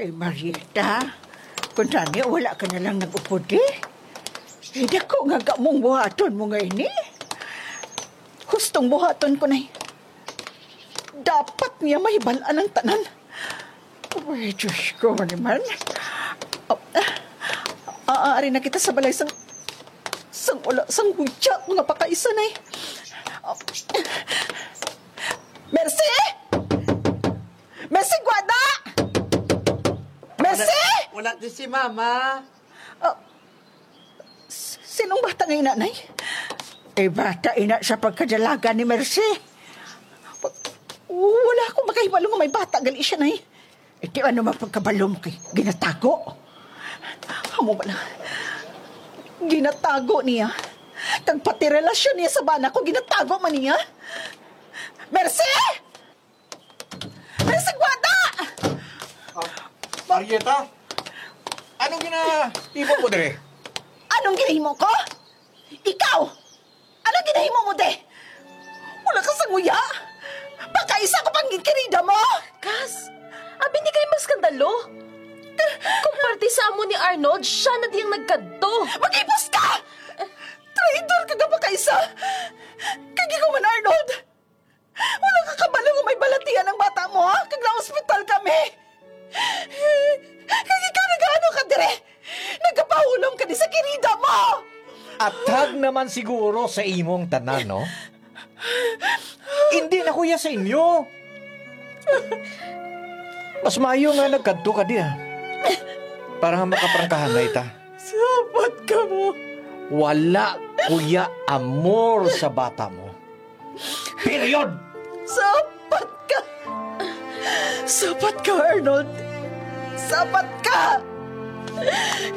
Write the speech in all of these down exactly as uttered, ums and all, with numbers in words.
Ay, Marieta, kung tani wala ka na lang nag-upod, eh. Ay, dako nga gamong buhaton mo nga ini. Hustong buhaton ko, Nay. Dapat niya mahibal-an ang tanan. Ay, Diyos ko naman. Ah, ah, ari na kita sa balay sang, sang wala, sang huya nga pakaisa, Nay. Ah, Mercy! Mercy, gwada! Mercy! Wala, wala di si Mama. Ah, s-, sinong bata nga ina, Nay? Eh, bata ina sa pagkadalaga ni Mercy. Wa-, wala akong makahibalo nga may bata gali siya, Nay. Eh, di ano man pagkabalo mo kay ginatago? Amo ba lang? Ginatago niya. Kag pati relasyon niya sa bana ko, ginatago man niya. Mercy! Pero sa gwada! Ah, Marieta, anong ginahimo mo dire? Anong ginahimo ko? Ikaw! Anong ginahimo mo, de? Wala ka sa nguya? Pagkaisa ko pang ginkirida mo! Kas, abi ni kay mas skandalo. Kung parte sa amo ni Arnold, siya na diyang nagkadto. Mag-ipos ka! Traidor ka nga pagkaisa! Kag ikaw man, Arnold! Wala ka kabalo nga may balatian ang bata mo, ha? Kag na-ospital kami. Kag ikaw nagaano ka dire? Nagapahulom ka di sa kirida mo. Atag naman siguro sa imong tanan, no? Hindi na kuya sa inyo. Mas maayo nga nagkadto ka di, ah. Para nga makaprangkahanay ta. Sapat ka mo. Wala, kuya, amor sa bata mo. Period! Sapat ka! Sapat ka, Arnold! Sapat ka!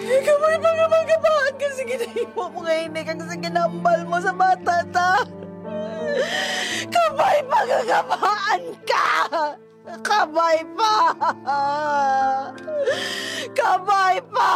Kabay pa nga magabaan ka sa ginahimo mo nga ini kag sa ginhambal mo sa bata ta! Kabay pa nga gabaan ka! Kabay pa! Kabay pa!